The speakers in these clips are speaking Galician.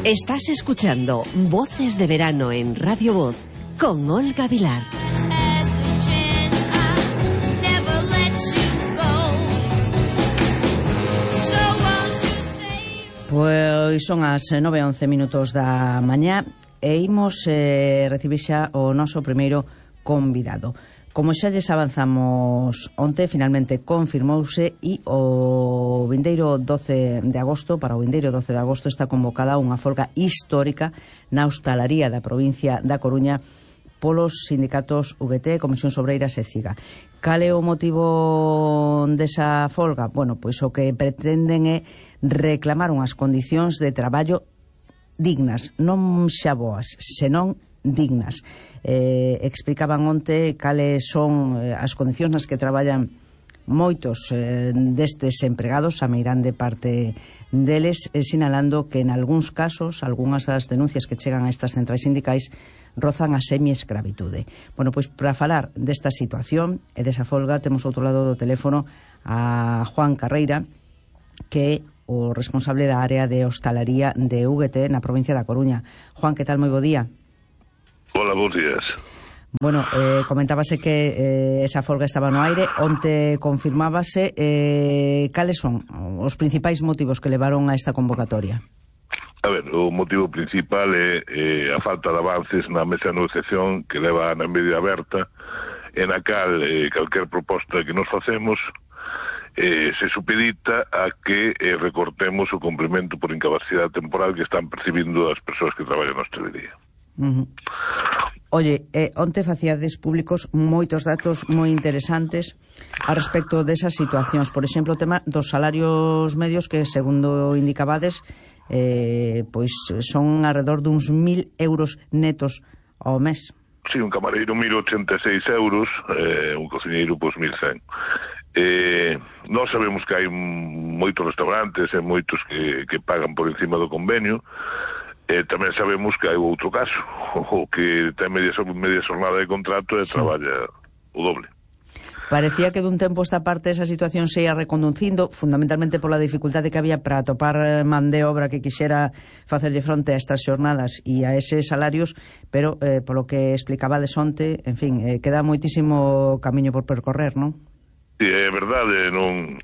Estás escuchando Voces de Verano en Radio Voz con Olga Vilar. Pois son as 9:11 da mañá e imos recibir xa o noso primeiro convidado. Como xa lles avanzamos onte, finalmente confirmouse e o vindeiro 12 de agosto, para o vindeiro 12 de agosto está convocada unha folga histórica na hostalaría da provincia da Coruña polos sindicatos VT, Comisións Obreiras e CIGA. Cal é o motivo desa folga? Bueno, pois o que pretenden é reclamar unhas condicións de traballo dignas, non xa boas, senón dignas. Explicaban onte cales son as condicións nas que traballan moitos destes empregados, a meirande parte deles, sinalando que en algúns casos, algunhas das denuncias que chegan a estas centrais sindicais rozan a semi-escravitude. Bueno, pois para falar desta situación e desa folga temos outro lado do teléfono a Juan Carreira, que é o responsable da área de hostalaría de UGT na provincia da Coruña. Juan, que tal? Moi bo día. Hola, bons días. Bueno, comentábase que esa folga estaba no aire, onte confirmábase. Cales son os principais motivos que levaron a esta convocatoria? A ver, o motivo principal é a falta de avances na mesa de negociación que leva na media aberta, en a cal calquer proposta que nos facemos se supedita a que recortemos o complemento por incapacidade temporal que están percibindo as persoas que traballan na hostelería. Oye, onte facíades públicos moitos datos moi interesantes a respecto desas situacións. Por exemplo, o tema dos salarios medios que, segundo indicabades, pois son alrededor duns 1.000 euros netos ao mes. Sí, un camareiro 1.086 euros, un cociñeiro pois 1.100. Nós sabemos que hai moitos restaurantes e moitos que pagan por encima do convenio. Tamén sabemos que hai outro caso, o que ten media xornada de contrato e traballa o doble. Parecía que dun tempo esta parte esa situación se ia reconducindo, fundamentalmente pola dificultade que había para atopar man de obra que quixera facerlle fronte a estas xornadas e a eses salarios, pero polo que explicaba de onte, en fin, queda moitísimo camiño por percorrer, non? Sí, é verdade, non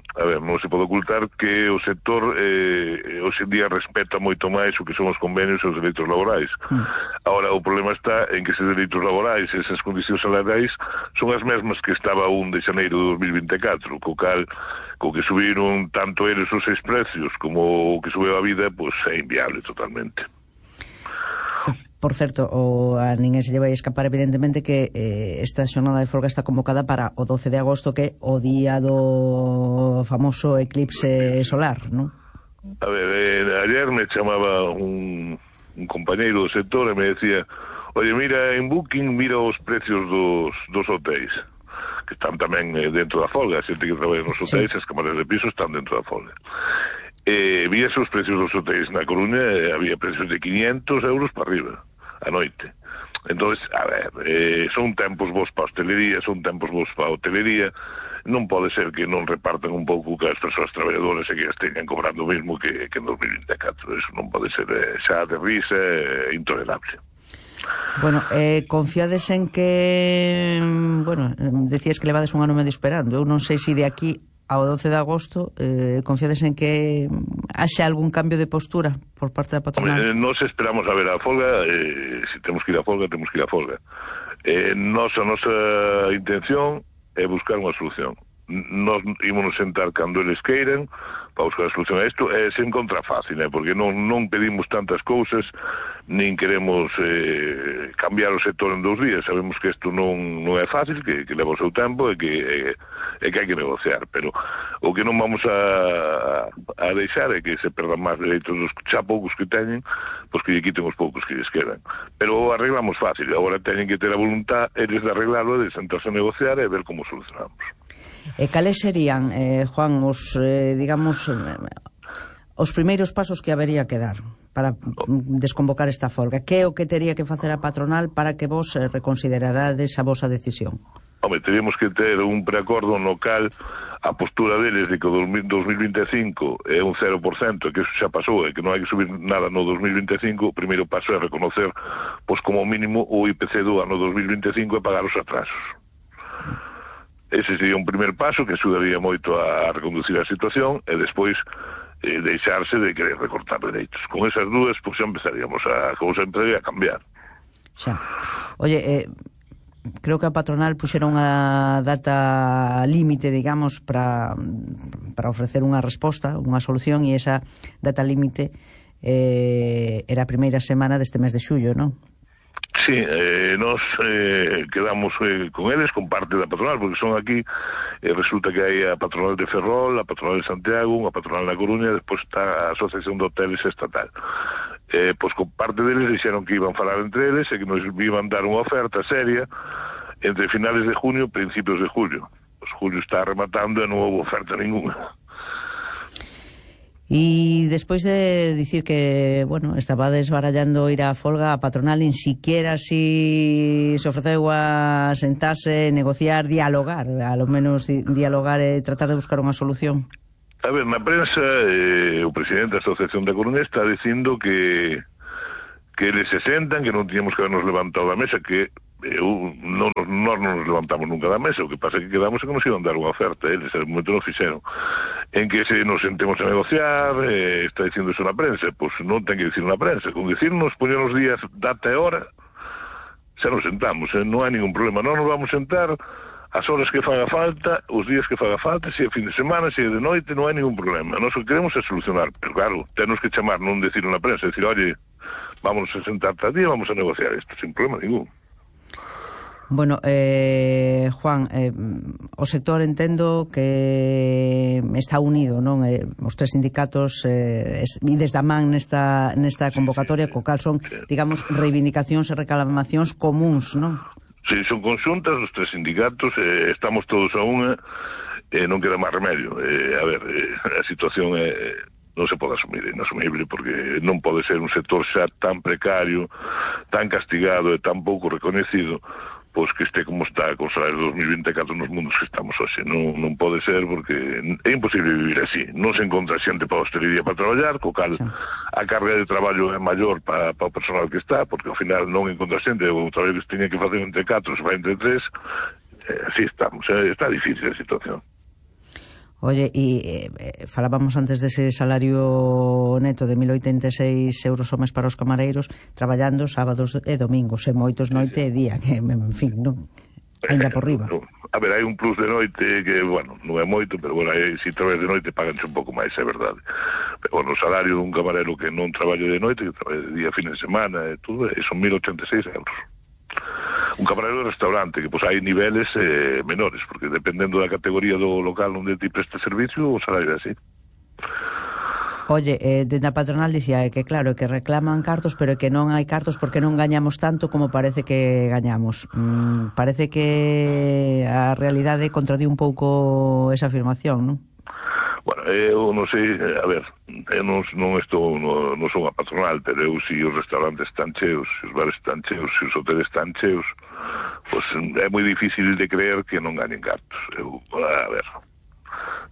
se pode ocultar que o sector hoxe en día respeta moito máis o que son os convenios e os dereitos laborais. Ahora, o problema está en que eses dereitos laborais e esas condicións salariais son as mesmas que estaba 1 de xaneiro de 2024, co que subiron tanto eles os seis precios como o que subeu a vida, pois é inviable totalmente. Por certo, a ninguén se lle vai escapar evidentemente que esta xornada de folga está convocada para o 12 de agosto, que é o día do famoso eclipse solar, non? A ver, ayer me chamaba un compañeiro do sector e me decía: oye, mira en Booking, mira os precios dos hotéis, que están tamén dentro da folga. A xente que traballa nos hotéis, as cámaras de piso están dentro da folga. Víase os precios dos hotéis na Coruña, había precios de 500 euros para arriba a noite. Entonces, a ver, son tempos vos para a hostelería, son tempos vos para a hotelería. Non pode ser que non repartan un pouco que as persoas traballadoras e que as teñan cobrando o mesmo que en 2024. Eso non pode ser, xa de risa, intolerable. Bueno, confiades en que, bueno, decías que levades un ano medio esperando. Eu non sei se de aquí ao 12 de agosto confiades en que haxa algún cambio de postura por parte da patronal. Nos esperamos a ver a folga, se temos que ir a folga, temos que ir a folga. A nosa intención é buscar unha solución. Nos ímonos sentar cando eles queiren para buscar a solución a isto. Se encontra fácil, porque non pedimos tantas cousas, nin queremos cambiar o sector en 2 días. Sabemos que isto non é fácil, que leva o seu tempo e que hai que negociar, pero o que non vamos a deixar é que se perdan máis dereitos dos xa poucos que teñen, pois que lle quiten os poucos que lles quedan. Pero arreglamos fácil. Agora teñen que ter a voluntad eles de arreglarlo, de sentarse a negociar e ver como solucionamos. E cales serían, Juan, os, digamos, os primeiros pasos que habería que dar para desconvocar esta folga? Que é o que tería que facer a patronal para que vos reconsiderarades a vosa decisión? Home, teríamos que ter un preacordo no cal a postura deles de que o 2025 é un 0%, que eso xa pasou, e que non hai que subir nada no 2025, o primeiro paso é reconocer, pois como mínimo, o IPC do ano 2025 e pagar os atrasos. Ese sería un primer paso que axudaría moito a reconducir a situación, e despois deixarse de querer recortar dereitos. Con esas dúas, pois xa empezaríamos a cousa empezaría a cambiar. Xa. Oye, creo que a patronal puxera unha data límite, digamos, para ofrecer unha resposta, unha solución, e esa data límite era a primeira semana deste mes de xullo, non? Sí, nos quedamos con eles, con parte da patronal, porque son aquí, resulta que hai a patronal de Ferrol, a patronal de Santiago, unha patronal na Coruña, e despois está a Asociación de Hoteles Estatal. Pois con parte deles dixeron que iban falar entre eles e que nos iban dar unha oferta seria entre finales de junio e principios de julio. Pois julio está rematando e non houve oferta ninguna. E despois de dicir que, bueno, estaba desbarallando ir á folga, a patronal nin siquiera se ofreceu a sentarse, negociar, dialogar, a lo menos dialogar e tratar de buscar unha solución. A ver, na prensa, o presidente da Asociación da Coruña está dicindo que eles se sentan, que non tiñamos que habernos levantado da mesa, que nós non nos levantamos nunca da mesa, o que pasa é que quedamos e que nos iban dar unha oferta, eles en momento non fixeron, en que se nos sentemos a negociar, está dicindo iso na prensa, pois non ten que dicir na prensa, con dicirnos, poñernos días, data e hora, xa nos sentamos, non hai ningún problema, non nos vamos sentar as horas que faga falta, os días que faga falta, se é fin de semana, se é de noite, non hai ningún problema, nós o que queremos é solucionar, pero claro, temos que chamar, non decir na prensa, decir, oye, vamos a sentar tal día, vamos a negociar isto, sin problema ningún. Bueno, Juan, o sector entendo que está unido, non? Os tres sindicatos ides da man nesta convocatoria, co cal son, digamos, reivindicacións e reclamacións comuns, non? Sí, son conxuntas os tres sindicatos, estamos todos a unha, non queda máis remedio. A ver, a situación non se pode asumir, é inasumible, porque non pode ser un sector xa tan precario, tan castigado e tan pouco reconhecido, pois que este como está con salarios de 2024 nos mundos que estamos hoxe. Non pode ser, porque é imposible vivir así. Non se encontra xente para a hostelería para traballar, co cal a carga de traballo é maior para o personal que está, porque ao final non encontra xente, o traballo que se tiña que facer entre 4 se vai entre 3, así estamos, está difícil a situación. Oye, e falábamos antes dese salario neto de 1.086 euros ao mes para os camareiros, traballando sábados e domingos, e moitos noite e día, que, en fin, non? Ainda por riba. A ver, hai un plus de noite que, bueno, non é moito, pero, bueno, se traballas de noite paganse un pouco máis, é verdade. Pero, bueno, o salario dun camarero que non traballe de noite, que traballe de día, fin de semana, e tudo, son 1.086 euros. Un camarero de restaurante, que pois hai niveles menores, porque dependendo da categoría do local onde ti presta servicio, o salario é así. Oye, dentro da patronal dicía que claro, que reclaman cartos, pero que non hai cartos porque non gañamos tanto como parece que gañamos. Parece que a realidade contradí un pouco esa afirmación, non? Bueno, eu non sei, a ver, eu non son a patronal, pero eu si os restaurantes están cheos, se os bares están cheos, se os hoteles están cheos, pois é moi difícil de creer que non ganen cartos. A ver,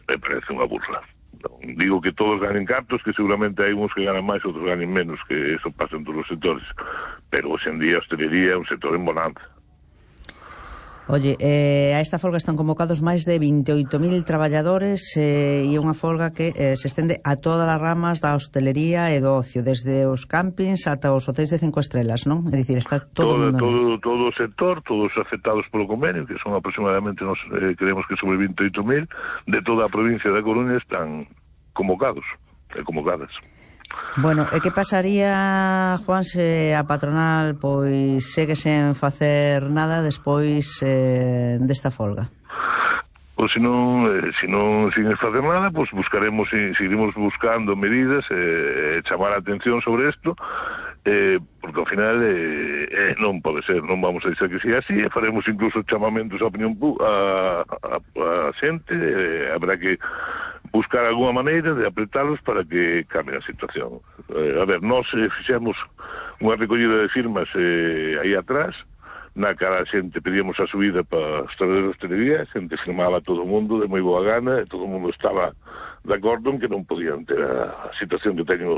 me parece unha burla. Non digo que todos ganen cartos, que seguramente hai uns que ganan máis, outros ganen menos, que eso pasa en todos os sectores, pero hoxe en día a hostelería é un sector en bonanza. Oye, a esta folga están convocados máis de 28.000 traballadores e unha folga que se estende a todas as ramas da hostelería e do ocio, desde os campings ata os hotéis de 5 estrelas, non? É dicir, está todo o sector, todos afectados polo convenio, que son aproximadamente, nos creemos que sobre 28.000, de toda a provincia da Coruña están convocados e convocadas. Bueno, e que pasaría, Juan, se a patronal pois segue sen facer nada despois desta folga? Pois se non sin facer nada, pois seguiremos buscando medidas, chamar a atención sobre isto, porque ao final non pode ser, non vamos a dizer que sea así, e faremos incluso chamamentos á opinión a xente, habrá que buscar alguna maneira de apretalos para que cambie a situación. A ver, nós fixemos unha recollida de firmas aí atrás na cara a xente pedíamos a subida para os traballadores de hostelería, a xente firmaba todo o mundo de moi boa gana, e todo o mundo estaba de acordo en que non podían ter a situación que teñen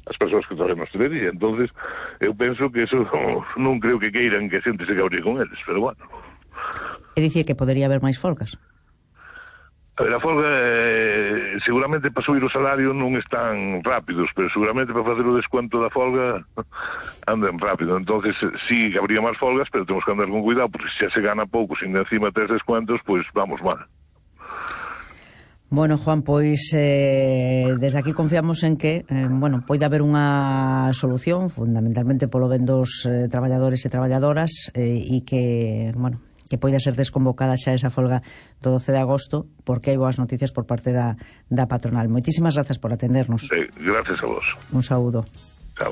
as persoas que traballan na hostelería. Entonces eu penso que eso non creo que queiran que a xente se cabríe con eles, pero bueno. É dicir que podería haber máis folgas? A ver, a folga seguramente para subir o salario non están rápidos, pero seguramente para facer o descuento da folga andan rápido. Entonces sí que habría máis folgas, pero temos que andar con cuidado, porque se xa se gana pouco, sin encima tes descuentos, pois vamos mal. Bueno, Juan, pois desde aquí confiamos en que poida haber unha solución, fundamentalmente polo ben dos traballadores e traballadoras, e que poida ser desconvocada xa esa folga do 12 de agosto, porque hai boas noticias por parte da patronal. Moitísimas grazas por atendernos. Sí, gracias a vos. Un saúdo. Chao.